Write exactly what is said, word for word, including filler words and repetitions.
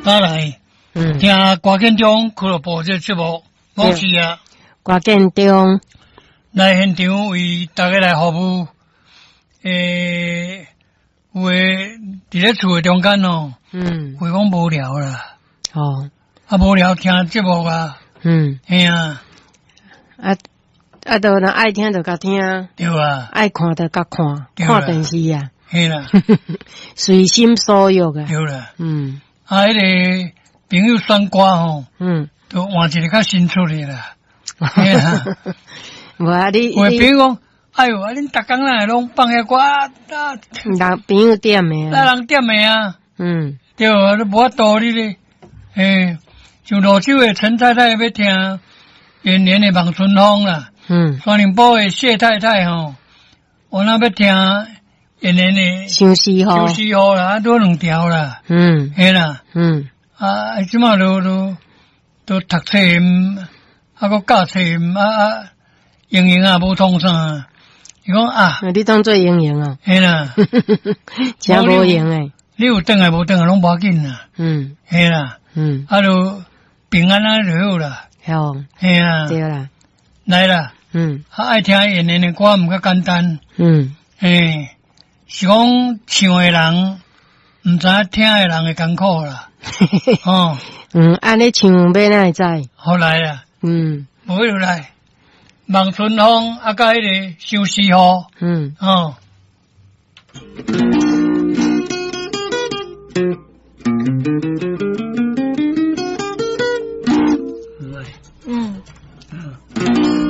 打來嗯，聽歌建中俱樂部這個節目，我是啊，歌建中，來現場為大家來服務。欸，有的佇咧厝的中間哦，嗯，會講無聊啦，哦，啊無聊聽節目啊，嗯，嘿啊，啊啊，都若愛聽就共聽，對啊，愛看就共看，對啦看電視啊，嘿啦，隨心所欲啊，對啦，嗯啊，彼个朋友選歌吼，嗯，就換一個較新出的啦，嘿啊，無啊，你有的你朋友講，哎喲，啊恁逐工哪會攏放遐歌啊？啊人朋友點的那啊，人點的啊？嗯對啊，你無法度你咧，嘿，像蘆洲的陳太太欲聽延年的《望春風》啦，嗯，雙林埔的謝太太吼，我若欲聽延年的《相思雨，相思雨》啦，啊，拄兩條啦，嗯嘿啦，嗯啊，這馬都都都讀冊，啊，閣教冊，啊啊，英英啊無創啥，伊講啊，你當做英英啊，嘿啦，真無閒的，你有轉來無轉來攏無要緊啦，嗯嘿啦，嗯，啊，就平安安就好啦，好，嘿啊，對啦，來啦，嗯啊，愛聽延年的歌毋較簡單，嗯嘿，是講唱的人毋知影聽的人的艱苦啦，哦，嗯，按呢唱欲哪會知？好來啦，嗯無就來，望春風啊，佮彼个相思雨，嗯。哦。